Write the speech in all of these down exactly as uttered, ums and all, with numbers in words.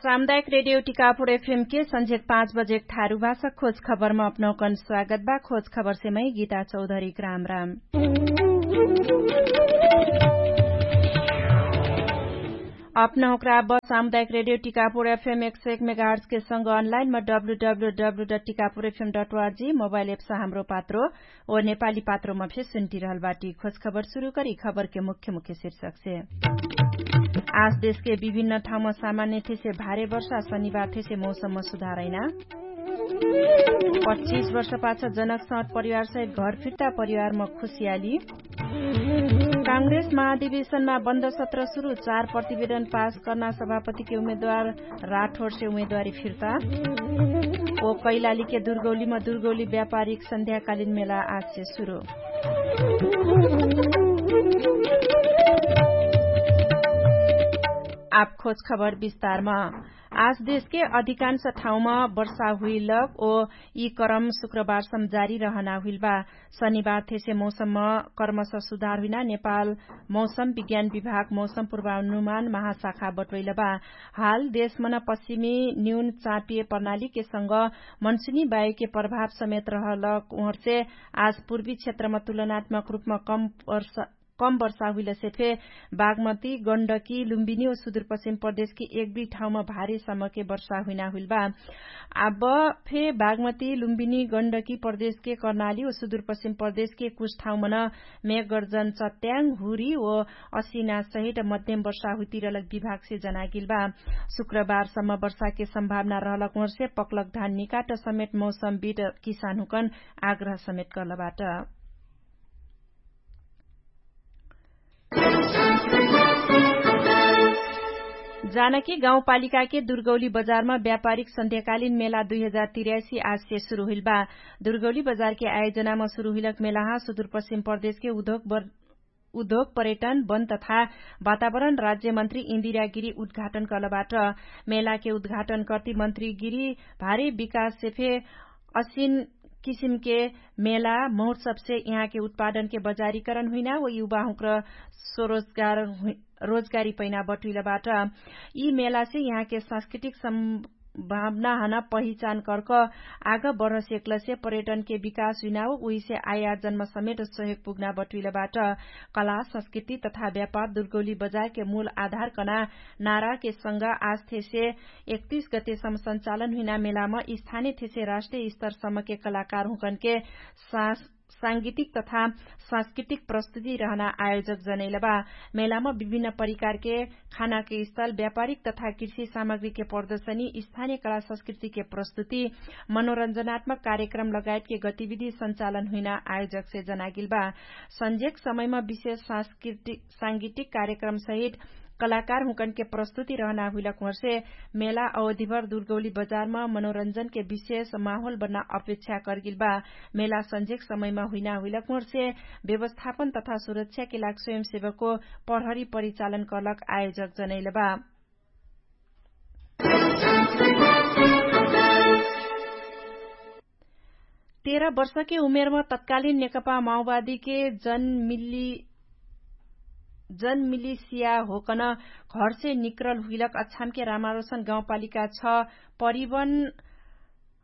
सामुदायिक रेडियो टिकापुर एफएम के संझेक पाँच बजेक थारु भाषा खोज खबरमा अपनौकन स्वागत बा। खोज खबरसे मै गीता चौधरी ग्राम राम। अपनौकरा बस सामुदायिक रेडियो टिकापुर एफएम एक सय एक मेगाहर्ट्स के संग अनलाइन म W W W dot Tikapur FM dot ORG mobile apps Hamro Patro ओ नेपाली पात्रोमा फे सुन्टिरहल बाटी। खोज खबर सुरु करी खबरके मुख्य मुख्य शीर्षकसे। आज देशके विभिन्न ठाउँमा सामान्य थेसे भारे वर्षा शनिबार थेसे मौसममा सुधारैना। पच्चिस वर्षपाछ जनक सट परिवारसहित घर फिर्ता परिवारमा खुसियाली। काङ्ग्रेस महाधिवेशनमा बन्द सत्र सुरु चार प्रतिवेदन पास कर्ना सभापतिके उम्मेदवार राठोरसे उम्मेदवारी फिर्ता। ओ कैलालीके दुर्गौलीमा दुर्गौली व्यापारिक सन्ध्याकालीन मेला आजसे सुरु। आप खोज खबर विस्तारमा। आज देशके अधिकांश ठाउँमा वर्षा हुइलक ओ यी करम शुक्रबारसम जारी रहना हुइलबा। शनिबार थेसे मौसममा कर्मश सुधार हुइना नेपाल मौसम विज्ञान विभाग मौसम पूर्वानुमान महाशाखा बटोइलबा। हाल देशमन पश्चिमी न्यून चापिय प्रणालीके संग मनसुनी बायुके प्रभाव समेत रहलक उहर्चे आज पूर्वी क्षेत्रमा तुलनात्मक रूपमा कम वर्षा हुइलसे फे बागमती गण्डकी लुम्बिनी ओ सुदुरपश्चिम प्रदेशकी एक दुई ठाउँमा भारी समके वर्षा हुइना हुइलबा। आब फे बागमती लुम्बिनी गण्डकी प्रदेशके कर्णाली ओ सुदुरपश्चिम प्रदेशके कुछ ठाउँमन मेघगर्जन चट्याङ हुरी ओ असिना सहित मध्यम वर्षा हुइतिरलक विभागसे जनागिलबा। शुक्रबारसम्म वर्षाके सम्भावना रहलक उहर्से पक्लक धान निकाट समेत मौसम बिट किसानहुँकन आग्रह समेत कर्लबाट। जानकी गाउँपालिकाके दुर्गौली बजारमा व्यापारिक सन्ध्याकालीन मेला दुई हजार तिर्यासी आजसे सुरु हुइलबा। दुर्गौली बजारके आयोजनामा सुरु हुइलक मेलाहा सुदुरपश्चिम प्रदेशके उद्योग उद्योग पर्यटन वन तथा वातावरण राज्यमन्त्री इन्दिरा गिरी उद्घाटन कर्लबाट। मेलाके उद्घाटन कर्ति मन्त्री गिरी भारी विकाससे फे असिन किसिमके मेला महोत्सवसे यहाँके उत्पादनके बजारीकरण हुइना व युवाहुँक्र स्वरोजगार रोजगारी पैना बटुइलबाट। यी मेलासे यहाँके सांस्कृतिक सम्भावनाहन पहिचान कर्क आग बढसेक्लसे पर्यटनके विकास हुइना व उहिसे आयार्जनमा समेट सहयोग पुग्ना बटुइलबाट। कला संस्कृति तथा व्यापार दुर्गौली बजारके मूल आधार कना नाराके संग आज थेसे एकतिस गतेसम्म सञ्चालन हुइना मेलामा स्थानिय थेसे राष्ट्रिय स्तरसम्मके कलाकारहुँकनके साँस सांगीतिक तथा सांस्कृतिक प्रस्तुति रहना आयोजक जनैलबा। मेलामा विभिन्न परिकारके खानाके स्थल व्यापारिक तथा कृषि सामग्रीके प्रदर्शनी स्थानिय कला संस्कृतिके प्रस्तुति मनोरञ्जनात्मक कार्यक्रम लगायतके गतिविधि सञ्चालन हुइना आयोजकसे जनागिलबा। सन्जेक समयमा विशेष सांस्कृतिक सांगीतिक कार्यक्रम सहित कलाकारहुँकनके प्रस्तुति रहना हुइलक उहर्से मेला अवधिभर दुर्गौली बजारमा मनोरञ्जनके विशेष माहोल बन्ना अपेक्षा कर्गिलबा। मेला सन्जेक समयमा हुइना हुइलक उहर्से व्यवस्थापन तथा सुरक्षाके लाग स्वयंसेवकको प्रहरी परिचालन कर्लक आयोजक जनैलबा। तेह्र वर्षके उमेरमा तत्कालीन नेकपा माओवादीके जनमिली जनमिलिसिया होकन घरसे निक्रल हुइलक अछामके रामारोसन गाउँपालिका छ परिवन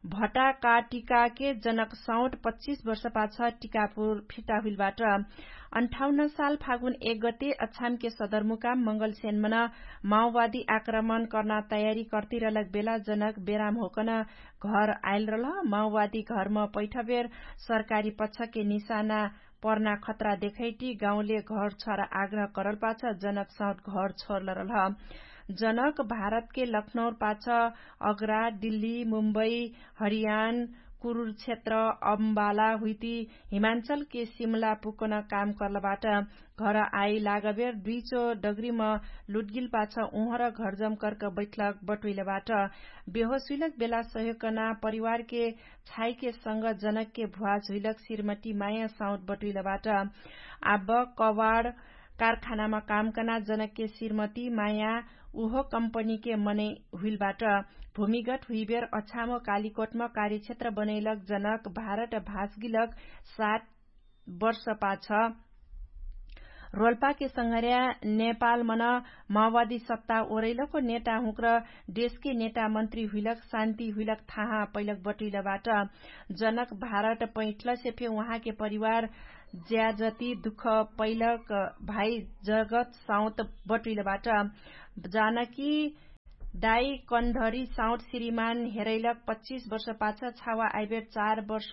भटाकाटिकाके जनक सौट पच्चिस वर्षपाछ टिकापुर फिर्ता हुइलबाट। अन्ठाउन्न साल फागुन एक गते अछामके सदरमुकाम मंगलसेनमन माओवादी आक्रमण कर्ना तयारी कर्तिरलक बेला जनक बेराम होकन घर आइल रलह। माओवादी घरम पैठबेर सरकारी पक्षके निशाना पर्ना खतरा देखैटी गाउँले घर छर आग्रह करल पाछ जनक सौट घर छोरल रलह। जनक भारतके लखनौर पाछ अग्रा दिल्ली मुम्बई हरियान कुरुर क्षेत्र अम्बाला हुइती हिमाञ्चलके सिमला पुकन काम कर्लबाट। घर आइ लागबेर दुइचो डगरीम लुटगिल पाछ उहर घरजम कर्क बैठलक बटुइलबाट। बेहोस हुइलक बेला सहयोगकना परिवारके छाइके संग जनकके भ्वाज हुइलक सिरमटी माया साउट बटुइलबाट। आब कवाड कारखानामा कामकना जनकके सिरमटी माया उहो कम्पनीके मनै हुइलबाट। भूमिगत हुइबेर अछामो कालिकोटमा कार्यक्षेत्र बनैलक जनक भारत भाजगिलक सात वर्षपाछ रोल्पाके संघर्या नेपाल मन माओवादी सत्ता ओरैलको नेटा हुँक्र देशके नेटा मन्त्री हुइलक शान्ति हुइलक थाहा पैलक बटुइलबाट। जनक भारत पैठलसे फे उहाँके परिवार ज्याजति दुख पैलक भाइ जगत साउत बटुइलबाट। जानकी दाइ कन्धरी साउट श्रीमान हेरैलक पच्चिस वर्ष पाछ छावा आइबेर चार वर्ष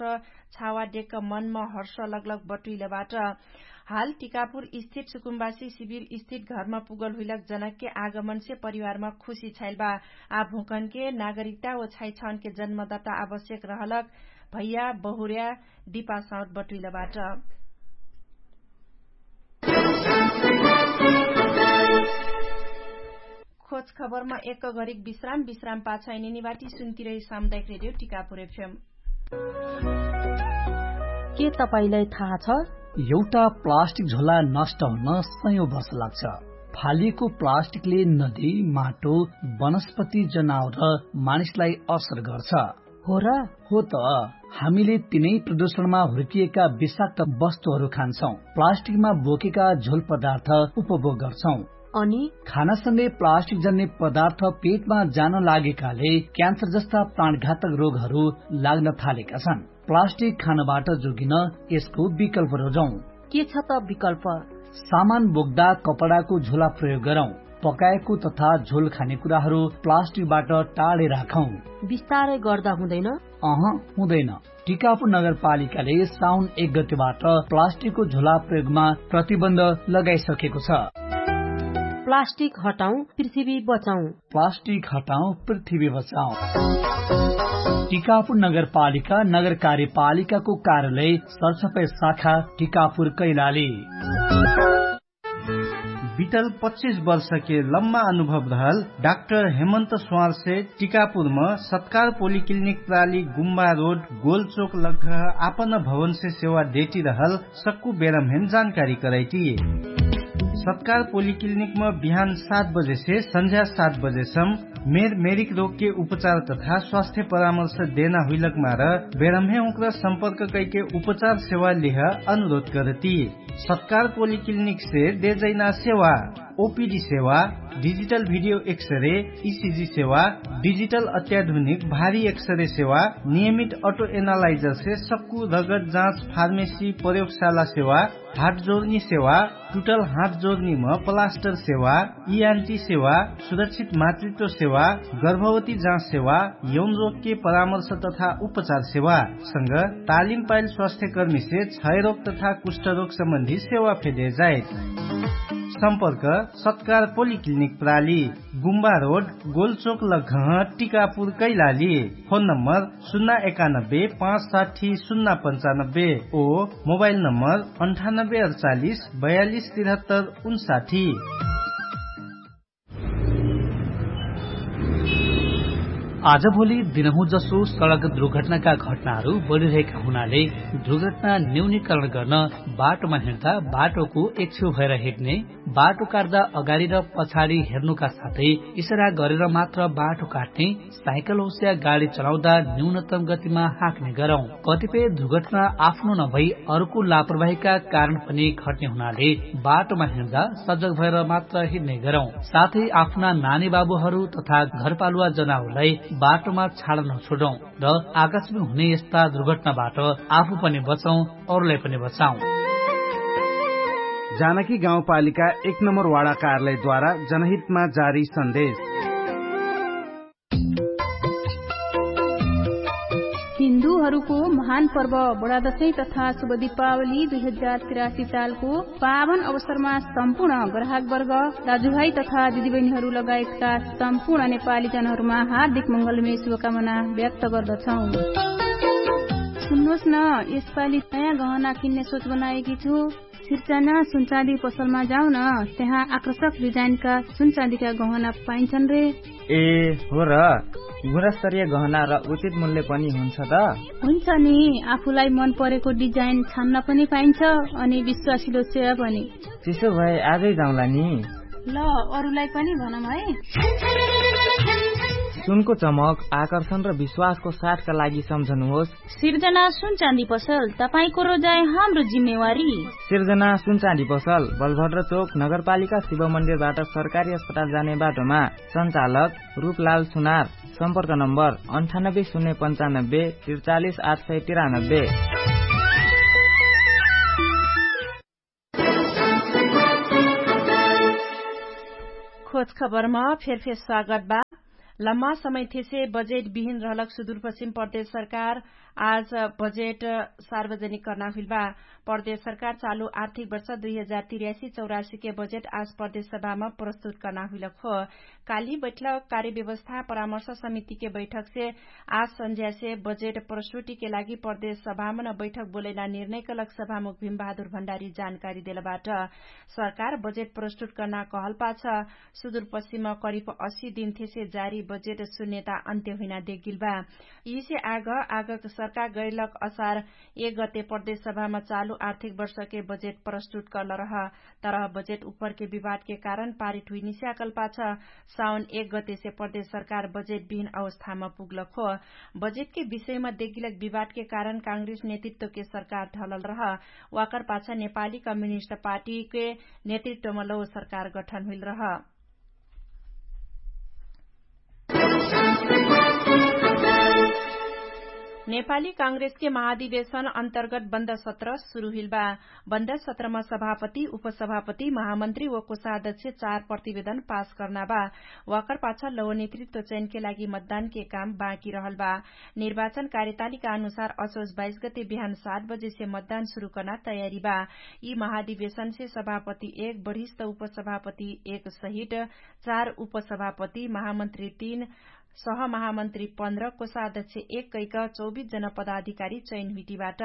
छावा डेक मनमा हर्ष लगलग बटुइलबाट। हाल टिकापुर स्थित सुकुम्बासी शिविर स्थित घरमा पुगल हुइलक जनकके आगमनसे परिवारमा खुशी छाइलबा। आ भुकनके नागरिकता व छाइछाउनके जन्मदाता आवश्यक रहलक भैया बहुर्या दिपा साउट बटुइलबाट। खोज खबरमा एक घरिक विश्राम विश्राम पाछ इनिनिवाटी सुन्तिरै सामुदायिक रेडियो टिकापुर एफएम। के तपाईंलाई थाहा छ? एउटा प्लास्टिक झोला नष्ट हुन सयौं वर्ष लाग्छ। फालिएको प्लास्टिकले नदी, माटो, वनस्पति, जनावर र मानिसलाई असर गर्छ। हो र? हो त। हामीले तिनै प्रदूषणमा हुर्किएका विषाक्त वस्तुहरू खान्छौं, प्लास्टिकमा बोकेका झोल पदार्थ उपभोग गर्छौं। अनि खानासँगै प्लास्टिक जन्ने पदार्थ पेटमा जान लागेकाले क्यान्सर जस्ता प्राणघातक रोगहरू लाग्न थालेका छन्। प्लास्टिक खानबाट जोगिन यसको विकल्प रोजौं। के छ त विकल्प? सामान बोक्दा कपडाको झोला प्रयोग गरौं। पकाएको तथा झोल खाने कुराहरू प्लास्टिकबाट टाढे राखौं। बिस्तारै गर्दा हुँदैन? अह, हुँदैन। टिकापुर नगरपालिकाले साउन एक गतिबाट प्लास्टिकको झोला प्रयोगमा प्रतिबन्ध लगाइसकेको छ। प्लास्टिक हटाउँ, पृथ्वी बचाउँ। प्लास्टिक हटाउँ, पृथ्वी बचाउँ। टिकापुर नगरपालिका नगर कार्यपालिकाको कार्यालय सरसफाइ शाखा टिकापुर कैलाली। बितल पच्चिस वर्षके लम्मा अनुभव रहल डाक्टर हेमन्त स्वारसे टिकापुरम सत्कार पोलिक्लिनिक प्राली गुम्बा रोड गोलचोक लग्घह आपन भवनसे सेवा देटी रहल सक्कु बेरमहेन जानकारी करैटी। सत्कार पोलिक्लिनिकम बिहान सात बजेसे सन्झ्या सात बजेसम मेर मेरिक रोगके उपचार तथा स्वास्थ्य परामर्श देना हुइलकमार बेरमहे उक्र सम्पर्क कैके उपचार सेवा लिह अनुरोध करती। सत्कार पोलिक्लिनिकसे देजैना सेवा ओपिडी सेवा, डिजिटल भिडियो एक्सरे, इसिजी सेवा, डिजिटल अत्याधुनिक भारी एक्सरे सेवा, नियमित अटो एनालाइजरसे सक्कु रगत जाँच फार्मेसी प्रयोगशाला सेवा, हाटजोर्नी सेवा, टुटल हाटजोर्नीम प्लास्टर सेवा, इआन्टी सेवा, सुरक्षित मातृत्व सेवा, गर्भवती जाँच सेवा, यौन रोगके परामर्श तथा उपचार सेवा संग तालिम पाइल स्वास्थ्यकर्मीसे क्षयरोग तथा कुष्ठरोग सम्बन्धी सेवा फेदे जाइत। सम्पर्क सत्कार पोलिक्लिनिक प्राली, गुम्बा रोड, गोलचोक लघह, टिकापुर कैलाली। फोन नम्बर सुन्ना एकानब्बे पाँच साठी सुन्ना पन्चानब्बे ओ मोबाइल नम्बर अन्ठानब्बे अडचालिस बयालिस तिरहत्तर उन्साठी। आजभोलि दिनहुँ जसो सडक दुर्घटनाका घटनाहरू बढिरहेका हुनाले दुर्घटना न्यूनीकरण गर्न बाटोमा हिँड्दा बाटोको एकछेउ भएर हिँड्ने, बाटो काट्दा अगाडि र पछाडि हेर्नुका साथै इसरा गरेर मात्र बाटो काट्ने, साइकल होस्या गाडी चलाउँदा न्यूनतम गतिमा हाँक्ने गरौँ। कतिपय दुर्घटना आफ्नो नभई अर्को लापरवाहीका कारण पनि घट्ने हुनाले बाटोमा हिँड्दा सजग भएर मात्र हिँड्ने गरौँ। साथै आफ्ना नानी बाबुहरू तथा घरपालुवा जनाउलाई बाटोमा छाडन छोडौँ र आकाशमा हुने यस्ता दुर्घटनाबाट आफू पनि बचौँ, अरूलाई पनि बचाउँ। जानकी गाउँपालिका एक नम्बर वाडा कार्यालयद्वारा जनहितमा जारी सन्देश। हिन्दूहरूको महान पर्व बडादशै तथा शुभ दीपावली दुई हजार तिरासी सालको पावन अवसरमा सम्पूर्ण ग्राहकवर्ग, दाजुभाइ तथा दिदीबहिनीहरू लगायतका सम्पूर्ण नेपाली जनहरूमा हार्दिक मङ्गलमय शुभकामना व्यक्त गर्दछौँ। सुन्नुहोस् न, यसपालि नयाँ गहना किन्ने सोच बनाएकी छु। सिर्चाना सुनचाँदी पसलमा जाउन, त्यहाँ आकर्षक डिजाइनका सुनचाँदीका गहना पाइन्छन् रे। ए, हो र? गुणस्तरीय गहना र उचित मूल्य पनि हुन्छ त? हुन्छ नि, आफूलाई मन परेको डिजाइन छान्न पनि पाइन्छ अनि विश्वासिलो सेवा पनि। त्यसो भए आजै जाउँला नि। ल, अरूलाई पनि भनौँ है। सुनको चमक आकर्षण र विश्वासको साथका लागि सम्झनुहोस्। सिर्जना सुनचाँदी पसल, तपाईंको रोजाइ हाम्रो जिम्मेवारी। सिर्जना सुनचाँदी पसल, बलभद्र चोक, नगरपालिका शिव मन्दिरबाट सरकारी अस्पताल जाने बाटोमा। सञ्चालक रूपलाल सुनार। सम्पर्क नम्बर अन्ठानब्बे शून्य पन्चानब्बे त्रिचालिस आठ सय तिरानब्बे। खोज खबरमा फेरफेर स्वागत बा। लम्मा समय थेसे बजेट बिहिन रहलक सुदूरपश्चिम प्रदेश सरकार आज बजेट सार्वजनिक कर्ना हुइल बा। प्रदेश सरकार चालु आर्थिक वर्ष दुई हजार तिर्यासी चौरासी के बजेट आज प्रदेश सभामा प्रस्तुत कर्ना हुइलक हो। काली बैठलक कार्यव्यवस्था परामर्श समितिके बैठकसे आज सन्झ्यासे बजेट प्रस्तुतिके लागि प्रदेश सभामा न बैठक बोलैना निर्णय कलक सभामुख भिमबहादुर भण्डारी जानकारी देलबाट। सरकार बजेट प्रस्तुत कर्ना कहलपाछ सुदूरपश्चिम करिब असी दिनथेसे जारी बजेट सुन्यता अन्त्य हुइना देगिल बा। यिसे आग आगक सरकार गैलक असार एक गते प्रदेश सभामा चालु आर्थिक वर्षके बजेट प्रस्तुत कर्ल रह। तरह बजेट उपरके विवादके कारण पारित हुइनिस्याकलपाछ साउन एक गतेसे प्रदेश सरकार बजेट बिहिन अवस्थामा पुग्लक हो। बजेटके विषयमा देगिलक विवादके कारण काङ्ग्रेस नेतृत्वके सरकार ढलल रह। वाकर पाछ नेपाली कम्युनिस्ट पार्टीके नेतृत्वमा लौ सरकार गठन हुइल रह। नेपाली काङ्ग्रेसके महाधिवेशन अन्तर्गत बन्द सत्र सुरु हुइल बा। बन्द सत्रमा सभापति उपसभापति महामन्त्री व कोषाध्यक्ष चार प्रतिवेदन पास कर्ना बा। वाकर पाछ लौ नेतृत्व चयनके लागि मतदानके काम बाँकी रहल बा। निर्वाचन कार्यतालिका अनुसार असोज बाइस गते बिहान सात बजेसे मतदान सुरु कर्ना तयारी बा। यि महाधिवेशनसे सभापति एक बढिस्त उपसभापति एक सहित चार उपसभापति महामन्त्री तीन सहमहामन्त्री पन्ध्र कोषाध्यक्ष एक कैक चौबिस जन पदाधिकारी चयन हुइटिबाट।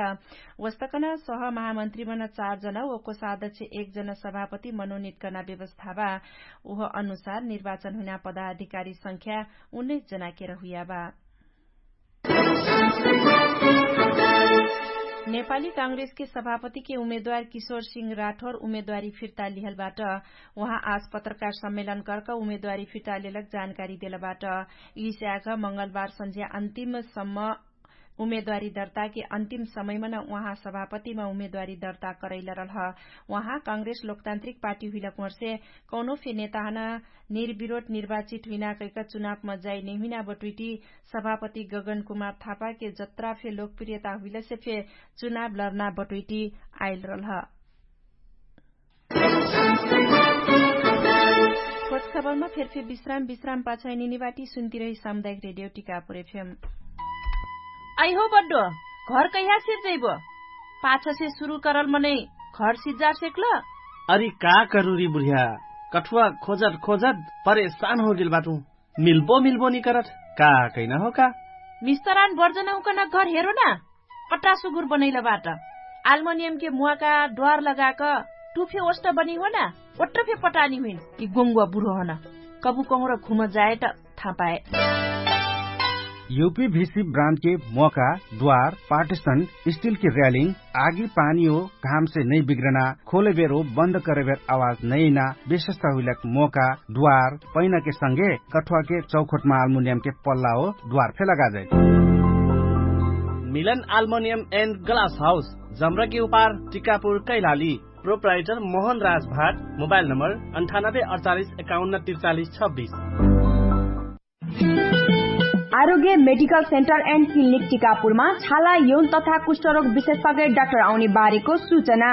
वस्तकन सहमहामन्त्री मन चार जन व कोषाध्यक्ष एक जन सभापति मनोनित कर्ना व्यवस्था बा। उह अनुसार निर्वाचन हुइना पदाधिकारी संख्या उन्नैस जनाके रहुइया बा। नेपाली काङ्ग्रेसके सभापतिके उमेदवार किशोर सिंह राठोर उमेदवारी फिर्ता लिहलबाट। उहाँ आज पत्रकार सम्मेलन कर्क उमेदवारी फिर्ता लेलक जानकारी देलबाट। यिस्याग मंगलबार सन्झ्या अन्तिम सम्म उमेदवारी दर्ताके अन्तिम समयमा न उहाँ सभापतिमा उमेदवारी दर्ता करैलरल ह। उहाँ काङ्ग्रेस लोकतान्त्रिक पार्टी हुइलक मर्से कौनो फे नेताहना निर्विरोध निर्वाचित हुइना कैक चुनावमा जाइ नैहुइना बटुइटी सभापति गगन कुमार थापाके जत्रा फे लोकप्रियता हुइलसे फे चुनाव लर्ना बटुइटी आइलरल ह। खोज खबरमा फेरफे विश्राम विश्राम पाछाइ निनिबाटी सुन्तिरही सामुदायिक रेडियो टिकापुर एफएम। अइहो बड्डो, घर कैहा सिर्जैबो? पाछसे सुरु करल मनै घर सिज्जा सेक्ल? अरि का करुरी बुढिया, कठुवा खोजत खोजत परेशान होगेल बाटु। मिल्बो मिल्बो निकरत का कैना हो का? मिस्तरान बर्जनहुकन घर हेरो ना। कट्टा सुगुर बनैलबाट आल्मनियमके मुवाका द्वार लगाक टुफे ओष्ट बनिहोना। ओट्टफे पटानी हुइन कि गोङ्गुवा बुढो हन। कबु कहुँर घुम जाए त थापाए। युपी भिसी ब्रान्डके मोका द्वार पार्टिसन स्टिलके र्यालिङ आगी पानी हो घामसे नै बिग्रना खोलेबेर हो बन्द करेबेर आवाज नैना विशेषता हुइलक मोका द्वार पैनाके संगे कठुवाके चौखोटमा आल्मुनियमके पल्ला हो द्वार फे लगाजै। मिलन आल्मोनियम एन्ड ग्लास हाउस जम्रकी उपार टिकापुर कैलाली। प्रोप्राइटर मोहन राज भाट। मोबाइल नम्बर अन्ठानब्बे अडचालिस एकाउन्न तिरचालिस छब्बिस। आरोग्य मेडिकल सेन्टर एन्ड क्लिनिक टिकापुरमा छाला यौन तथा कुष्ठरोग विशेषज्ञ डाक्टर आउने बारेको सूचना।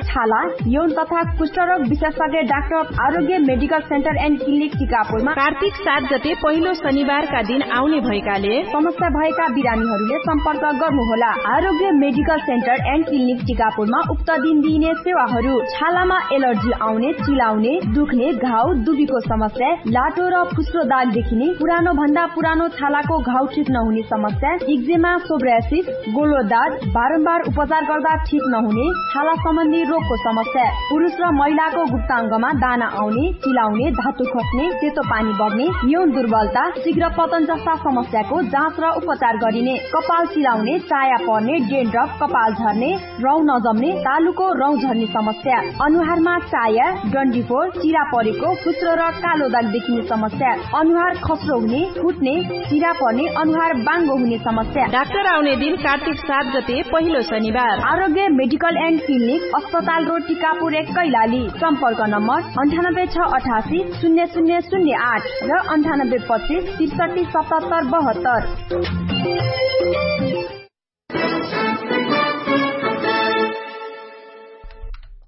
छाला यौन तथा कुष्ठरोग विशेषज्ञ डाक्टर आरोग्य मेडिकल सेन्टर एन्ड क्लिनिक टिकापुरमा कार्तिक सात गते पहिलो शनिबारका दिन आउने भएकाले समस्या भएका बिरामीहरूले सम्पर्क गर्नुहोला। आरोग्य मेडिकल सेन्टर एन्ड क्लिनिक टिकापुरमा उक्त दिन दिइने सेवाहरू छालामा एलर्जी आउने, चिलाउने, दुख्ने, घाउ दुबीको समस्या, लाटो र फुस्रो दाग देखिने, पुरानो भन्दा पुरानो छालाको घाउ ठिक नहुने समस्या, इक्जेमा, सोब्रासिस, गोलो दाग, बारम्बार उपचार गर्दा ठिक नहुने छाला सम्बन्धी रोग को समस्या, पुरुष र महिलाको गुप्ताङ्गमा दाना आउने, चिलाउने, धातु खस्ने, सेतो पानी बग्ने, न्यून दुर्बलता, शीघ्र पतन जस्ता समस्याको जाँच र उपचार गरिने। कपाल चिलाउने, चाया पर्ने, डेन्ड्रफ, कपाल झर्ने, रौँ नजम्ने, तालुको रौँ झर्ने समस्या, अनुहारमा चाया, डन्डीफोर, चिरा परेको, फुस्रो र कालो दाग देखिने समस्या, अनुहार खस्रो हुने, फुट्ने, चिरा पर्ने, अनुहार बाङ्गो हुने समस्या। डाक्टर आउने दिन कार्तिक सात गते, पहिलो शनिबार। आरोग्य मेडिकल एन्ड क्लिनिक, अस्पताल रोड, टिकापुर एक, कैलाली। सम्पर्क नम्बर अन्ठानब्बे छ अठासी शून्य शून्य शून्य आठ र अन्ठानब्बे पच्चिस त्रिसठी सतहत्तर बहत्तर।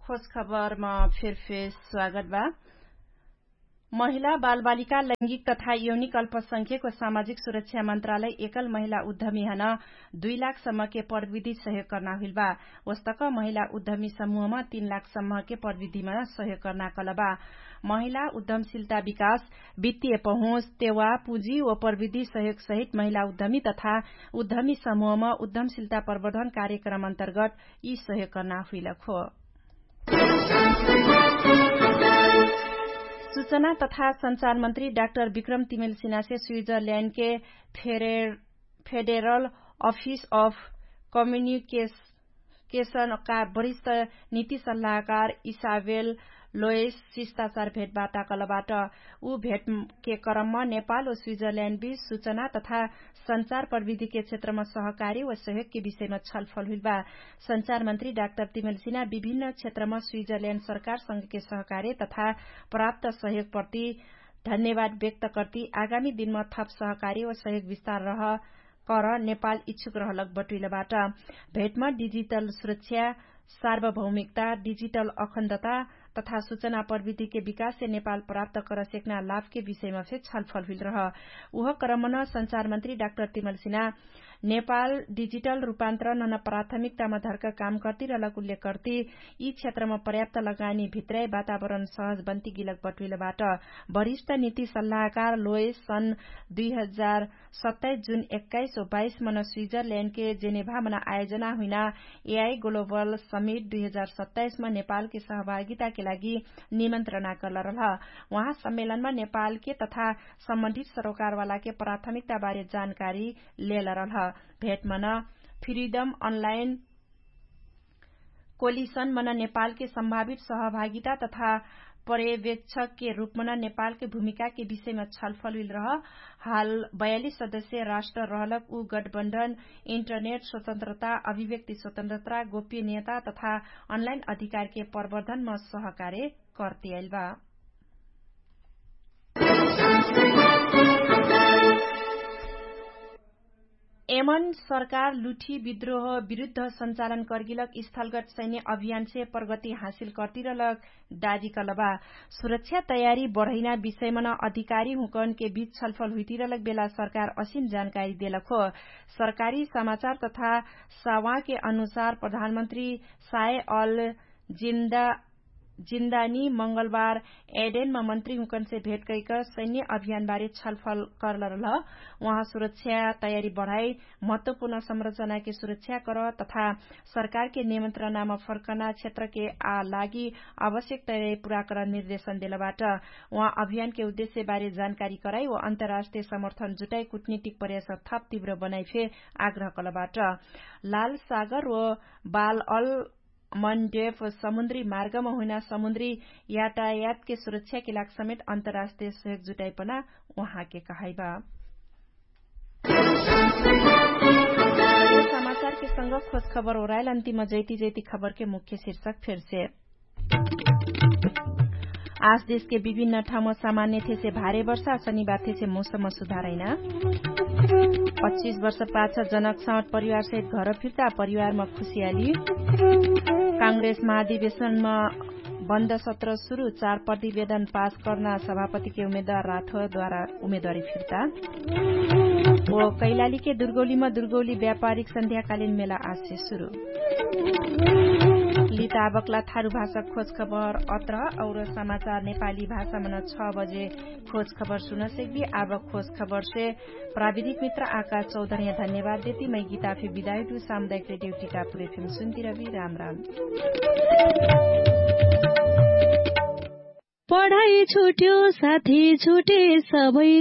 खोज खबरमा फेरफेर स्वागत बा। महिला, बालबालिका, लैंगिक तथा यौनिक अल्पसंख्यक व सामाजिक सुरक्षा मन्त्रालय एकल महिला उद्यमी हन दुई लाख सम्मके प्रविधि सहयोग कर्ना हुइल बा। वस्तक महिला उद्यमी समूहमा तीन लाख सम्मके प्रविधिमा सहयोग कर्ना कलबा। महिला उद्यमशीलता विकास, वित्तीय पहुँच, तेवा, पुँजी व प्रविधि सहयोग सहित महिला उद्यमी तथा उद्यमी समूहमा उद्यमशीलता प्रवर्धन कार्यक्रम अन्तर्गत यी सहयोग कर्ना हुइलक हो। सूचना तथा सञ्चार मन्त्री डाक्टर विक्रम तिमेल सिनासे स्विजरल्याण्डके फेडेरल अफिस अफ कम्युनिकेसनका वरिष्ठ नीति सल्लाहकार इसाबेल लोयस शिष्टाचार भेटवार्ता कलबाट। उ भेटके क्रममा नेपाल व स्विजरल्याण्डबीच सूचना तथा सञ्चार प्रविधिके क्षेत्रमा सहकारी व सहयोगके विषयमा छलफल हुइलबा। सञ्चार मन्त्री डाक्टर तिमेल सिना विभिन्न क्षेत्रमा स्विजरल्याण्ड सरकारसँगके सहकारी तथा प्राप्त सहयोगप्रति धन्यवाद व्यक्त कर्ती आगामी दिनमा थप सहकारी व सहयोग विस्तार रह कर नेपाल इच्छुक रहलक बटुइलबाट। भेटमा डिजिटल सुरक्षा, सार्वभौमिकता, डिजिटल अखण्डता तथा सूचना प्रविधिके विकाससे नेपाल प्राप्त करसेक्ना लाभके विषयमा फे छलफल हुइलरह। उह क्रमन सञ्चार मन्त्री डाक्टर तिमल सिना नेपाल डिजिटल रूपान्तर नन प्राथमिकतामा धर्क काम कर्तिरलक उल्लेख कर्ति यी क्षेत्रमा पर्याप्त लगानी भित्रै वातावरण सहज बन्ति गिलक बटुइलबाट। वरिष्ठ नीति सल्लाहकार लोयस सन् दुई हजार सत्ताइस जुन एक्काइस व बाइस मन स्विजरल्याण्डके जेनेभामन आयोजना हुइना एआई ग्लोबल समिट दुई हजार सत्ताइसमा नेपालके सहभागिताके लागि निमन्त्रणा कर्लरलह। उहाँ सम्मेलनमा नेपालके तथा सम्बन्धित सरोकारवालाके प्राथमिकताबारे जानकारी लेलरलह। भेटमन फ्रिडम अनलाइन कोलिसन मन नेपालके सम्भावित सहभागिता तथा पर्यवेक्षकके रूपमन नेपालके भूमिकाके विषयमा छलफल हुइलरह। हाल बयालिस सदस्य राष्ट्र रहलक उ गठबन्धन इन्टरनेट स्वतन्त्रता, अभिव्यक्ति स्वतन्त्रता, गोप्यनियता तथा अनलाइन अधिकारके प्रवर्धनमा सहकार्य कर्तियाइलबा। एमन सरकार लुठी विद्रोह विरुद्ध सञ्चालन कर्गिलक स्थलगत सैन्य अभियानसे प्रगति हासिल कर्तिरलक दाबी कलबा। सुरक्षा तयारी बढैना विषयमन अधिकारी हुँकनके बीच छलफल हुइतिरलक बेला सरकार असिन जानकारी देलक हो। सरकारी समाचार तथा सावाके अनुसार प्रधानमन्त्री साय अल जिन्दा जिन्दानी मंगलबार एडेनमा मन्त्री हुँकनसे भेट कैक सैन्य अभियानबारे छलफल कर्लरलह। उहाँ सुरक्षा तयारी बढाइ महत्वपूर्ण संरचनाके सुरक्षा कर तथा सरकारके निमन्त्रणामा फर्कना क्षेत्रके आ लागि आवश्यक तयारी पुरा कर निर्देशन देलबाट। उहाँ अभियानके उद्देश्यबारे जानकारी कराइ व अन्तर्राष्ट्रिय समर्थन जुटाइ कुटनीतिक प्रयास थप तिव्र बनाइ फे आग्रह कलबाट। लाल सागर व बाल अल मन्डेफ समुन्द्री मार्गमा हुइना समुन्द्री यातायातके सुरक्षाके लाग समेत अन्तर्राष्ट्रिय सहयोग जुटाइपना उहाँके कहाइबा। समाचारके संग खोज खबर ओराइल अन्तिम जैती जैती खबरके मुख्य शीर्षक फेरसे। आज देशके विभिन्न ठाउँमा सामान्य थेसे भारे वर्षा शनिबार थेसे मौसममा सुधारैना। पच्चिस वर्ष पाछ जनक साउट परिवारसहित घर फिर्ता परिवारमा खुसियाली। काङ्ग्रेस महाधिवेशनमा बन्द सत्र सुरु चार प्रतिवेदन पास कर्ना सभापतिके उमेदवार राठोद्वारा उमेदवारी फिर्ता। ओ कैलालीके दुर्गौलीमा दुर्गौली व्यापारिक सन्ध्याकालिन मेला आजसे सुरु। लिताबकला थारु भाषा खोजखबर अत्र और समाचार नेपाली भाषामा न छ बजे खोजखबर सुनसेकबी। आबक खोजखबरसे प्राविधिक मित्र आकाश चौधर्या धन्यवाद देती मै गीताफे बिदायु सामुदायिक रेडियो टिकापुर एफएम सुन्ती रबी। राम राम। पढाइ छुट्यो साथी छुटे सबै।